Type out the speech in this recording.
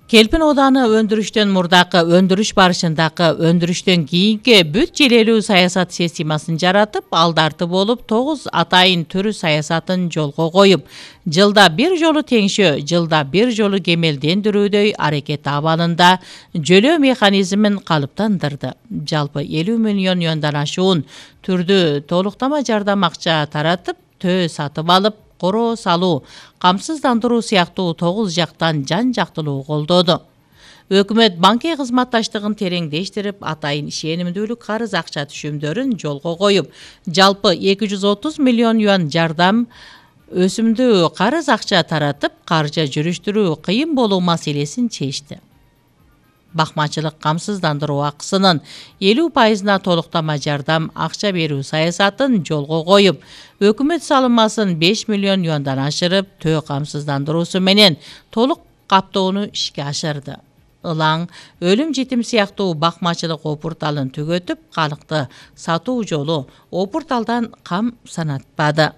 Келпин ооданы өндүрүштөн мурдакы, өндүрүш барышындагы, өндүрүштөн кийинки бүт желелүү саясат системасын жаратып, алдарты болуп 9 атайын түрү саясатын жолго коюп, жылда бир жолу теңшөө, жылда бир жолу кемелдендирүүдөй аракет абалында жөлөө механизмин калыптандырды. Жалпы 50 миллион юандан ашуун түрдүү толуктама жардам акча таратып, төө сатып алып, короо салуу, камсыздандыруу сыяктуу 9 жактан жан-жактылуу колдоду. Өкмөт банкий кызматташтыгын тереңдештирип, атайын ишенимдүүлүк карыз акча түшүмдөрүн жолго коюп, жалпы 230 миллион юан жардам өсүмдүү карыз акча таратып, каржы жүрүштүрүү кыйын болуу маселесин чечти. Бакмачылык камсыздандыруу акысынын 50%-на толуктама жардам акча берүү саясатын жолго коюп, өкмөт салымасын 5 миллион юандан ашырып, төө камсыздандыруусу менен толук каптоону ишке ашырды. Ылаң, өлүм жетим сыяктуу бакмачылык опурталын түгөтүп, калкты сатуу жолу опурталдан кам санатпады.